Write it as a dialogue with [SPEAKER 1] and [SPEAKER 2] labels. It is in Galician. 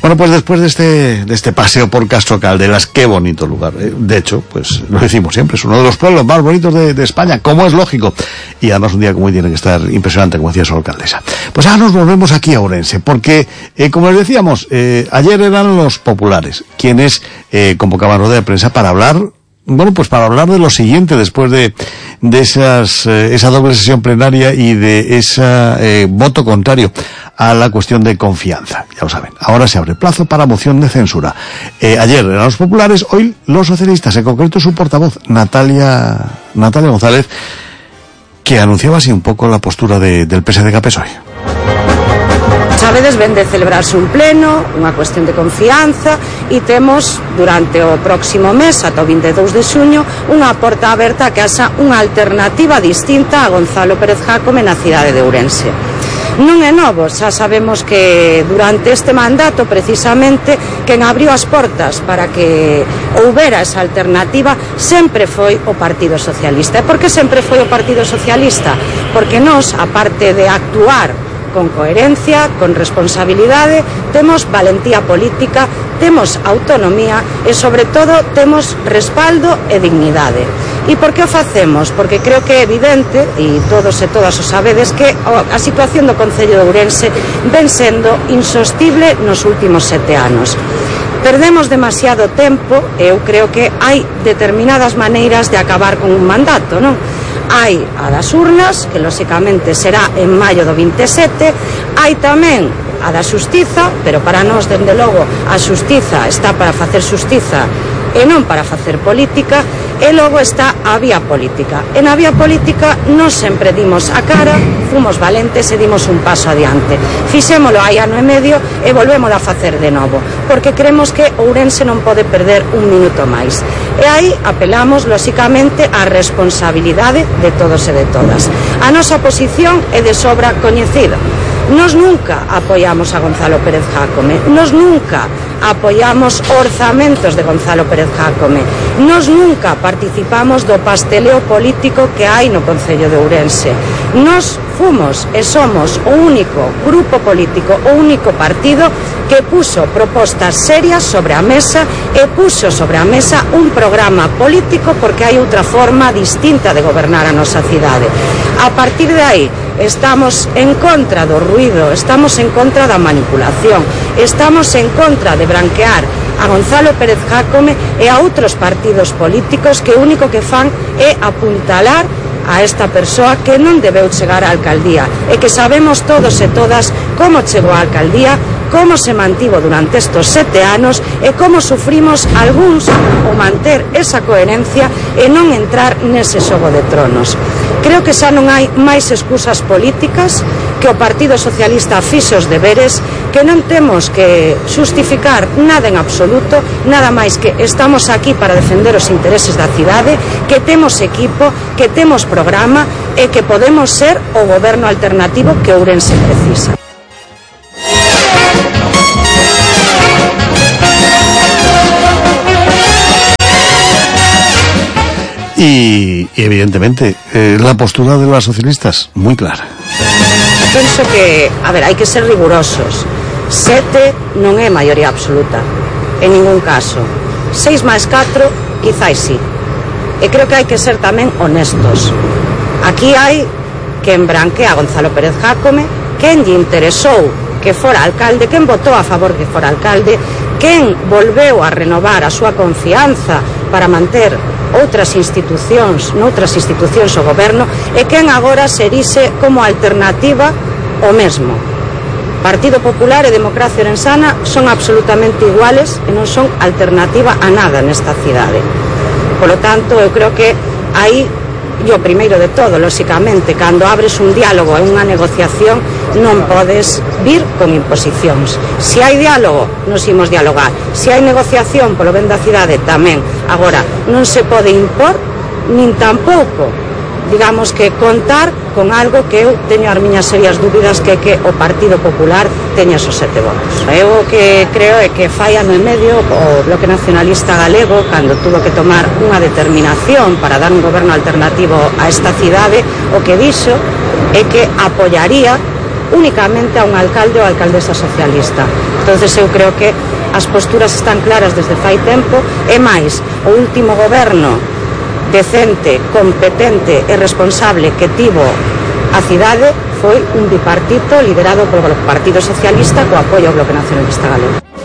[SPEAKER 1] Bueno, pues después de este paseo por Castro Caldelas, qué bonito lugar. De hecho, pues lo decimos siempre, es uno de los pueblos más bonitos de España, como es lógico. Y además un día como hoy tiene que estar impresionante, como decía su alcaldesa. Pues ahora nos volvemos aquí a Ourense, porque, como les decíamos, ayer eran los populares quienes convocaban rueda de prensa para hablar, bueno, pues para hablar de lo siguiente, después de esa doble sesión plenaria y de ese voto contrario a la cuestión de confianza. Ya lo saben, ahora se abre plazo para moción de censura. Ayer eran los populares, hoy los socialistas, en concreto su portavoz, Natalia González, que anunciaba así un poco la postura del PSDG-PSOE.
[SPEAKER 2] Sabedes, ven de celebrarse un pleno, unha cuestión de confianza, e temos durante o próximo mes, ata o 22 de xuño, unha porta aberta que haxa unha alternativa distinta a Gonzalo Pérez Jácome na cidade de Ourense. Non é novo, xa sabemos que durante este mandato, precisamente, quen abriu as portas para que houbera esa alternativa sempre foi o Partido Socialista. E por que sempre foi o Partido Socialista? Porque nós, aparte de actuar con coherencia, con responsabilidade, temos valentía política, temos autonomía e, sobre todo, temos respaldo e dignidade. E por que o facemos? Porque creo que é evidente, e todos e todas o sabedes, que a situación do Concello de Ourense ven sendo insostible nos últimos 7 anos. Perdemos demasiado tempo e eu creo que hai determinadas maneiras de acabar con un mandato, non? Hai a das urnas, que lóxicamente será en maio do 27, hai tamén a da xustiza, pero para nós, dende logo, a xustiza está para facer xustiza e non para facer política, e logo está a vía política. E na vía política nós sempre dimos a cara, fomos valentes e dimos un paso adiante. Fixémolo hai ano e medio e volvemos a facer de novo, porque creemos que Ourense non pode perder un minuto máis. E aí apelamos, lóxicamente, á responsabilidade de todos e de todas. A nosa posición é de sobra coñecida. Nos nunca apoiamos a Gonzalo Pérez Jácome, nos nunca apoiamos orzamentos de Gonzalo Pérez Jácome, nos nunca participamos do pasteleo político que hai no Concello de Ourense. Nos fomos e somos o único grupo político, o único partido que puso propostas serias sobre a mesa e puso sobre a mesa un programa político, porque hai outra forma distinta de gobernar a nosa cidade. A partir de aí, estamos en contra do ruído, estamos en contra da manipulación, estamos en contra de branquear a Gonzalo Pérez Jácome e a outros partidos políticos que o único que fan é apuntalar a esta persoa que non debeu chegar á alcaldía e que sabemos todos e todas como chegou á alcaldía, como se mantivo durante estos 7 anos e como sufrimos algúns o manter esa coherencia e non entrar nese xogo de tronos. Creo que xa non hai máis excusas políticas, que o Partido Socialista fixe os deberes, que non temos que xustificar nada en absoluto, nada máis que estamos aquí para defender os intereses da cidade, que temos equipo, que temos programa e que podemos ser o goberno alternativo que Ourense precisa.
[SPEAKER 1] Y evidentemente, la postura de los socialistas, muy clara.
[SPEAKER 2] Penso que, hai que ser rigurosos. 7 non é maioría absoluta, en ningún caso. 6 máis 4, quizáis sí. E creo que hai que ser tamén honestos. Aquí hai quen branquea a Gonzalo Pérez Jácome, quen lle interesou que fora alcalde, quen votou a favor que fora alcalde, quen volveu a renovar a súa confianza para manter noutras institucións o goberno, e quen agora se erixe como alternativa o mesmo. Partido Popular e Democracia Orensana son absolutamente iguales e non son alternativa a nada nesta cidade. Polo tanto, eu creo que aí, e o primeiro de todo, lóxicamente, cando abres un diálogo e unha negociación, non podes vir con imposicións. Se hai diálogo, nos imos dialogar. Se hai negociación polo ben da cidade, tamén. Agora, non se pode impor, nin tampouco, digamos que contar con algo que eu teño as miñas serias dúbidas, que é que o Partido Popular teña esos 7 votos. Eu o que creo é que fai ano e medio o Bloque Nacionalista Galego, cando tuvo que tomar unha determinación para dar un goberno alternativo a esta cidade, o que dixo é que apoiaría únicamente a un alcalde ou alcaldesa socialista. Entonces eu creo que as posturas están claras desde fai tempo, e máis, o último goberno decente, competente e responsable que tivo a cidade foi un bipartito liderado polo Partido Socialista co apoio ao Bloque Nacionalista Galego.